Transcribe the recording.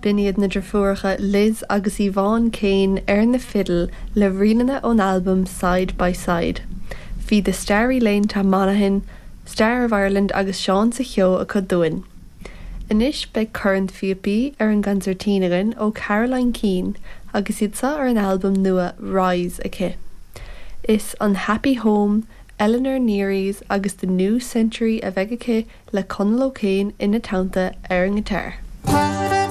B'in iad na deirfiúracha Liz agus Yvonne Kane ar na fidil le ríleanna ón albam Side by Side. Bhí The Starry Lane to Monaghan, Star of Ireland agus Seán sa Cheo acu dúinn. Anois beidh cornphíopaí ar an gconsairtín againn ó Caroline Keane agus iad seo ar an albam nua Rise aici. Is an Happy Home, Eleanor Neary's agus The New Century a bheidh aici le Conall O'Kane ina teannta ar an ngiotár.